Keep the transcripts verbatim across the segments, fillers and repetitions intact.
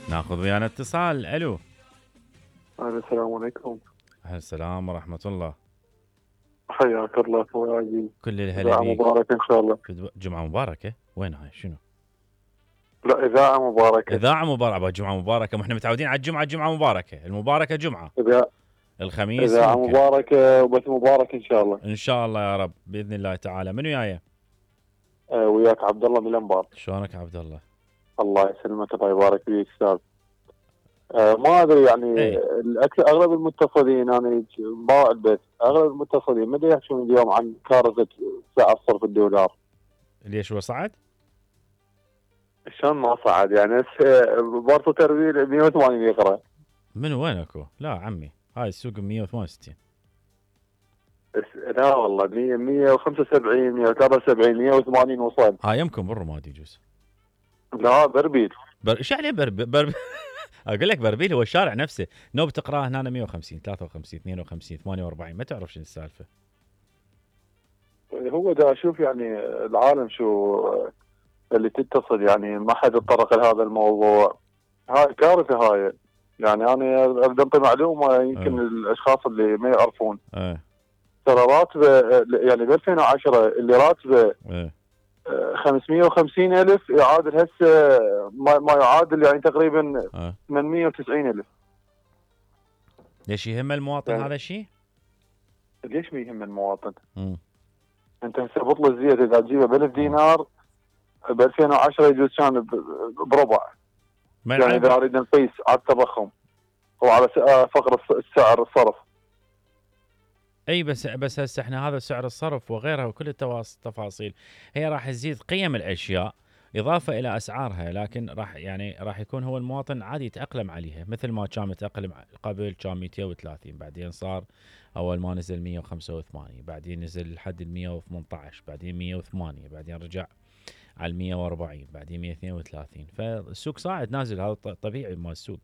ناخذ ويانا اتصال. الو. السلام عليكم. السلام ورحمة الله. حياك الله اخوي عزيز. كل الهلا إذاعة بيك. مباركة ان شاء الله. جمعة مباركة. وين هاي شنو؟ لا إذاعة مباركة. إذاعة مباركة. جمعة مباركة. ما احنا متعودين على الجمعة جمعة مباركة. المباركة جمعة. إذاعة الخميس إذاعة ممكن. مباركة وبث مبارك ان شاء الله. ان شاء الله يا رب باذن الله تعالى. من وياي؟ آه وياك عبد الله من الانبار. شلونك عبد الله؟ الله يسلمك الله يبارك فيك استاذ. آه ما ادري يعني اي. الأكل اغلب المتصلين انا باع البيت اغلب المتصلين ما يحكون اليوم عن كارثة سعر صرف الدولار. ليش هو صعد؟ شلون ما صعد يعني بورصة تربيل مية وثمانين يقرا. من وين اكو؟ لا عمي هاي السوق مية وثمانية وستين. لا والله مية مية وخمسة وسبعين مية وثلاثة وسبعين مية وثمانين وصل. هاي يمكن بالرماد يجوز. لا بربيل. بر... ايش يعني بربيل؟ برب... اقول لك بربيل هو الشارع نفسه. نوب تقراه هنا مية وخمسين ثلاثة وخمسين اثنين وخمسين ثمانية وأربعين ما تعرف شنو السالفه. هو دا اشوف يعني العالم شو اللي تتصل يعني ما حد يتطرق لهذا الموضوع. هاي كارثه هاي. يعني انا ابدا انطي معلومه يمكن أه. الاشخاص اللي ما يعرفون. أه. ترى راتبه يعني ب ألفين وعشرة اللي راتبه أه. خمسمية وخمسين ألف يعادل هسه ما, ما يعادل يعني تقريبا أه. ثمانمية وتسعين ألف. ليش يهم المواطن يعني هذا الشيء؟ ليش ما يهم المواطن؟ مم. انت هسه بطل الزيت اذا تجيبه ب ألف دينار ب ألفين وعشرة يجوز كان بربع. يعني اذا اريد نقيس على التضخم وعلى فقر السعر الصرف. اي بس بس هسه احنا هذا سعر الصرف وغيرها وكل التفاصيل هي راح تزيد قيم الاشياء اضافه الى اسعارها، لكن راح يعني راح يكون هو المواطن عادي يتاقلم عليها مثل ما كان متاقلم قبل. كان مئتين وثلاثين بعدين صار اول ما نزل مئة وخمسة وثمانين بعدين نزل لحد ال مئة وثمانية عشر بعدين مئة وثمانية بعدين رجع على مئة وأربعين بعدين مئة واثنين وثلاثين. فالسوق صاعد نازل هذا طبيعي مال السوق.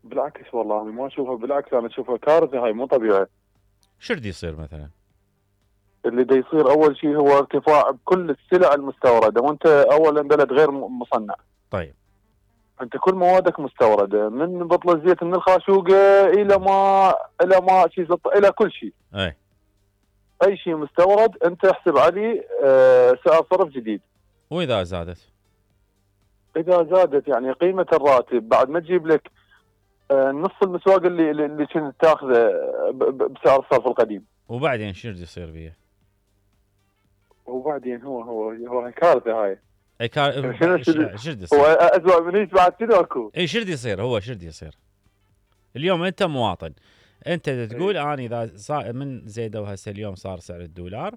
بالعكس والله ما اشوفها بالعكس انا اشوفها كارثه هاي مو طبيعي. شو بده يصير مثلا؟ اللي دا يصير اول شيء هو ارتفاع بكل السلع المستورده وانت اولا بلد غير مصنع. طيب انت كل موادك مستورده من بطل الزيت من الخاشوقه الى ما الى ما شيء الى كل شيء. اي اي شيء مستورد انت احسب عليه آه سعر صرف جديد. واذا زادت؟ اذا زادت يعني قيمه الراتب بعد ما تجيب لك آه نص المسواق اللي اللي كنت تاخذه بسعر الصرف القديم. وبعدين شو بده يصير بيه؟ وبعدين هو هو هو كارثه هاي. اي كار شو بده يصير؟ هو اسوء من ايش بعد شنو اكو؟ اي شو بده يصير؟ هو شو بده يصير؟ اليوم انت مواطن انت تقول انا اذا صار من زيدوا هسه اليوم صار سعر الدولار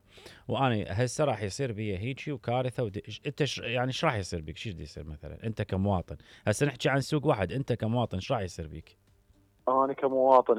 وانا هسه راح يصير بي هيجي وكارثه ودي... انت ش... يعني ايش راح يصير بك؟ شو بده يصير مثلا انت كمواطن؟ هسه نحكي عن سوق واحد، انت كمواطن ايش راح يصير بك؟ انا كمواطن